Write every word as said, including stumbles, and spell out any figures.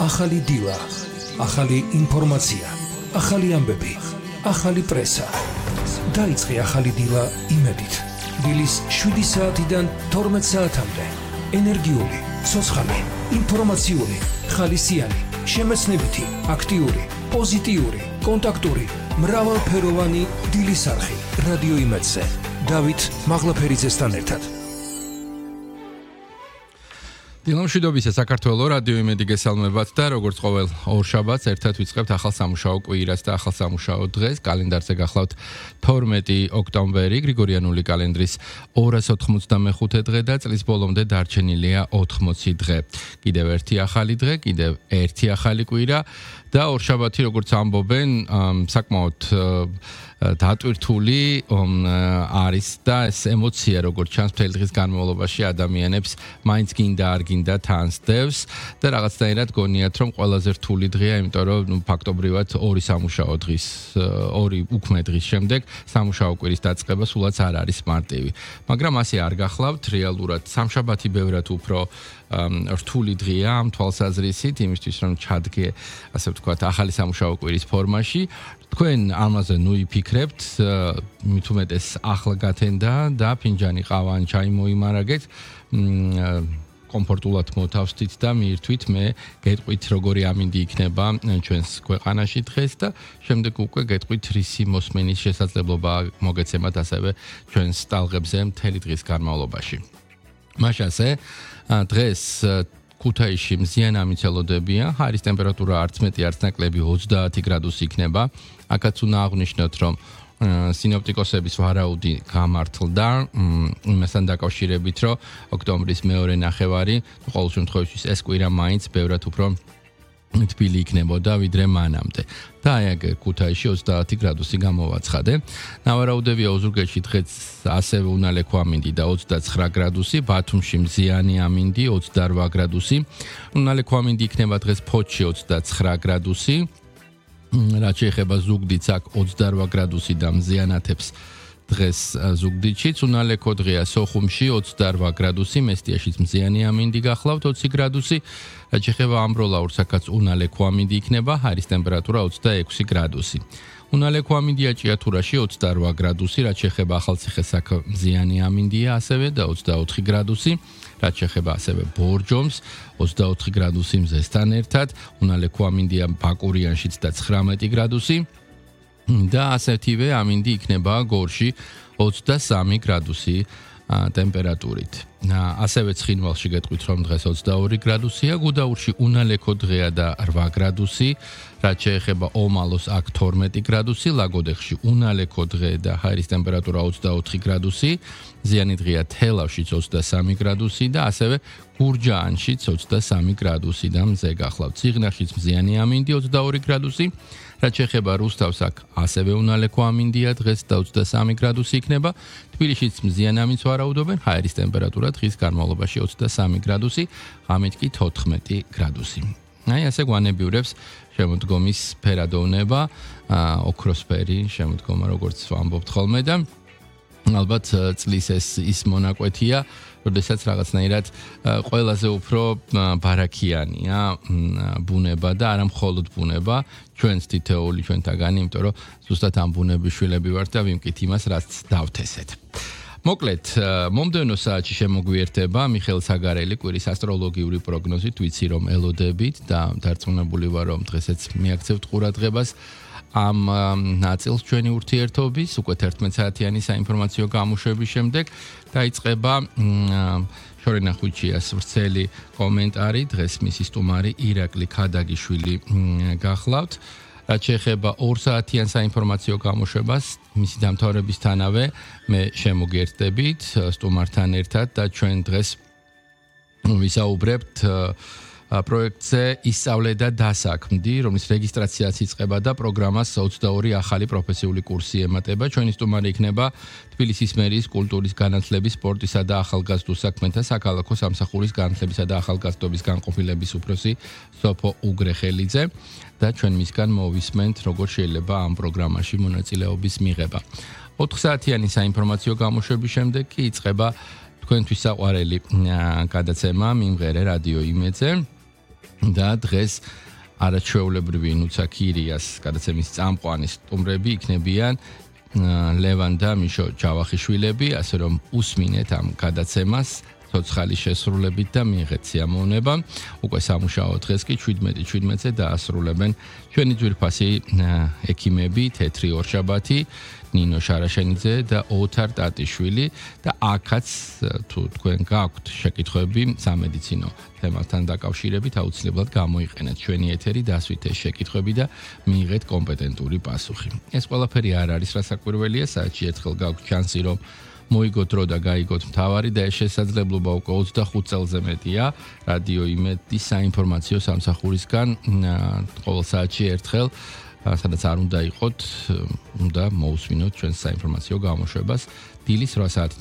ახალი დილა, ახალი ინფორმაცია, ახალი ამბები, ახალი პრესა. დაიწყე ახალი დილა იმედით. დილის შვიდი საათიდან თორმეტ საათამდე. ენერგიული, ცოცხალი, ინფორმაციული, ხალისიანი, შემეცნებითი, აქტიური, პოზიტიური, კონტაქტური, მრავალფეროვანი დილის არხი. რადიო იმედზე. დავით მაღლაფერიძესთან ერთად. დილამშვიდობისა საქართველოს რადიო იმედი გესალმებათ და როგორც ყოველ ორშაბათს ერთად ვიწყებთ ახალ სამუშაო კვირას და ახალ სამუშაო დღეს. კალენდარზე გახლავთ თორმეტი ოქტომბერი, გრიგორიანული კალენდრის ორას ოთხმოცდამეხუთე დღე და წლის ბოლომდე დარჩენილია ოთხმოცი დღე. კიდევ ერთი ახალი დღე, კიდევ ერთი ახალი კვირა და ორშაბათი, როგორც ამბობენ, საკმაოდ დატვირთული არის და ეს ემოცია, როგორც ჩანს მთელი დღის განმავლობაში ადამიანებს მაინც გინდა არ გინდა თანსდევს და რაღაცნაირად გონიათ, რომ ყველაზე რთული დღეა, იმიტომ რომ ნუ ფაქტობრივად ორი სამუშაო დღის, ორი უქმე დღის შემდეგ სამუშაო კვირის დაწყება სულაც არ არის მარტივი. მაგრამ ასე არ გახლავთ, რეალურად სამშაბათი ბევრად უფრო რთული დღეა ამ თვალსაზრისით, იმისთვის რომ ჩადგე, ასე ვთქვათ, ახალი სამუშაო კვირის ფორმაში. თქვენ ამაზე ნუ იფიქრებთ, მით უმეტეს ახლა გათენდა და ფინჯანი ყავა ან ჩაი მოიმარაგეთ, კომფორტულად მოთავსდით და მიირთვით, მე გეტყვით როგორი ამინდი იქნება ჩვენს ქვეყანაში დღეს და შემდეგ უკვე გეტყვით რისი მოსმენის შესაძლებლობა მოგეცემათ ასევე ჩვენს ტალღებზე მთელი დღის განმავლობაში. მაშასე დღეს ქუთაისში მზიან ამიცელოდებია, ჰაერის ტემპერატურა არც მეტი არც ნაკლები ოცდაათი გრადუსი იქნება. აქაც უნდა აღვნიშნოთ, რომ სინოპტიკოსების ვარაუდი გამართლდა იმასთან დაკავშირებით, რომ ოქტომბრის მეორე ნახევარი, ყოველ შემთხვევაში ეს კვირა მაინც ბევრად უფრო თბილი იქნებოდა ვიდრე მანამდე. და აი აგ ქუთაისში ოცდაათი გრადუსი გამოვაცხადე. ნავარაუდებია ოზურგეთში დღეს ასევე უნალექო ამინდი და ოცდაცხრა გრადუსი, ბათუმში მზიანი ამინდი ოცდარვა გრადუსი. უნალექო ამინდი იქნება დღეს ფოთში ოცდაცხრა გრადუსი. რაც შეეხება ზუგდიდს, აქ ოცდარვა გრადუსი და მზიანათებს დღეს ზუგდიდშიც, უნალექო დღეა სოხუმში ოცდარვა გრადუსი, მესტიაშიც მზიანი ამინდი გახლავთ ოცი გრადუსი. რაც შეეხება ამბროლაურს, აქაც უნალექო ამინდი იქნება, ჰაერის ტემპერატურა ოცდაექვსი გრადუსი. უნალექო ამინდია ჭიათურაში ოცდარვა გრადუსი, რაც შეეხება ახალციხეს, აქ მზიანი ამინდია ასევე და ოცდაოთხი გრადუსი. რაც შეეხება ასევე ბორჯომს, ოცდაოთხი გრადუსი მზესთან ერთად, უნალექო ამინდია ბაკურიანშიც და ცხრამეტი გრადუსი და ასეთივე ამინდი იქნება გორში ოცდასამი გრადუსი ტემპერატურით. ასევე ცხინვალში გეტყვით, რომ დღეს ოცდაორი გრადუსია, გუდაურში უნალექო დღეა და რვა გრადუსი, რაც შეეხება ომალოს, აქ თორმეტი გრადუსი, ლაგოდეხში უნალექო დღე და ჰაერის ტემპერატურა ოცდაოთხი გრადუსი, ზიანი დღეა თელავშიც ოცდასამი გრადუსი და ასევე გურჯაანშიც ოცდასამი გრადუსი და მზე გახლავთ. ციღნაღშიც მზიანი ამინდი ოცდაორი გრადუსი, რაც შეეხება რუსთავს, აქ ასევე უნალექო ამინდია დღეს და ოცდასამი გრადუსი იქნება. თბილისშიც მზიან ამინდს ვარაუდობენ, ჰაერის ტემპერატურა დღის განმავლობაში ოცდასამი გრადუსი, ღამით კი თოთხმეტი გრადუსი. აი ასე გვანებიურებს შემოდგომის ფერადოვნება, ოქროსფერი შემოდგომა, როგორც ვამბობთ ხოლმე და ალბათ წლის ეს ის მონაკვეთია, როდესაც რაღაცნაირად ყველაზე უფრო ბარაქიანია ბუნება და არა მხოლოდ ბუნება, ჩვენს თითოეული ჩვენთაგანი, იმიტომ რომ ზუსტად ამ ბუნების შვილები ვართ და ვიმკით იმას, რაც დავთესეთ. მოკლედ, მომდევნო საათში შემოგვიერთება მიხეილ საგარელი კვირის ასტროლოგიური პროგნოზით, ვიცი რომ ელოდებით და დარწმუნებული ვარ, რომ დღესაც მიაქცევთ ყურადღებას ამ ნაწილს ჩვენი ურთიერთობის, უკვე თერთმეტ საათიანი საინფორმაციო გამოშვების შემდეგ დაიწყება შორენა ხუჩიას ვრცელი კომენტარი, დღეს მისი სტუმარი ირაკლი ქადაგიშვილი გახლავთ. რაც შეეხება ორ საათიან საინფორმაციო გამოშვებას, მისი დამთავრებისთანავე მე შემოგერთდებით სტუმართან ერთად და ჩვენ დღეს ვისაუბრებთ პროექტზე ისწავლე და დასაქმდი, რომლის რეგისტრაციაც იწყება და პროგრამას ოცდაორი ახალი პროფესიული კურსი ემატება. ჩვენი სტუმარი იქნება თბილისის მერიის კულტურის განათლების, სპორტისა და ახალგაზრდულ საქმეთა საქალაქო სამსახურის განათლებისა და ახალგაზრდობის განყოფილების უფროსი სოფო უგრეხელიძე და ჩვენ მისგან მოვისმენთ, როგორ შეიძლება ამ პროგრამაში მონაწილეობის მიღება. ოთხ საათიანი საინფორმაციო გამოშვების შემდეგ კი იწყება თქვენთვის საყვარელი გადაცემა მიმღერე რადიო იმედზე. და დღეს არაჩვეულებრივი ნუცა ქირიას გადაცემის წამყვანი სტუმრები იქნებიან ლევან და მიშო ჯავახიშვილები, ასე რომ უსმინეთ ამ გადაცემას ცოცხალი შესრულებით და მიიღეთ სიამოვნება. უკვე სამუშაო დღეს კი შვიდმეტი შვიდმეტზე დაასრულებენ ჩვენი ძვირფასი ექიმები თეთრი ორშაბათი, ნინო შარაშენიძე და ოთარ ტატიშვილი და აქაც თუ თქვენ გაქვთ შეკითხვები სამედიცინო თემასთან დაკავშირებით აუცილებლად გამოიყენეთ ჩვენი ეთერი, დასვით ეს შეკითხვები და მიიღეთ კომპეტენტური პასუხი. ეს ყველაფერი არ არის რასაკვირველია, საერთოდ ერთხელ გაქვთ შანსი რომ მოიგოთ დრო და გაიგოთ მთავარი და ეს შესაძლებლობა უკვე ოცდახუთ წელზე მეტია რადიო იმედის საინფორმაციო სამსახურისგან ყოველ საათში ერთხელ სადაც არ უნდა იყოთ, უნდა მოусმინოთ ჩვენს საინფორმაციო გამოშვებას დილის რვა საათიდან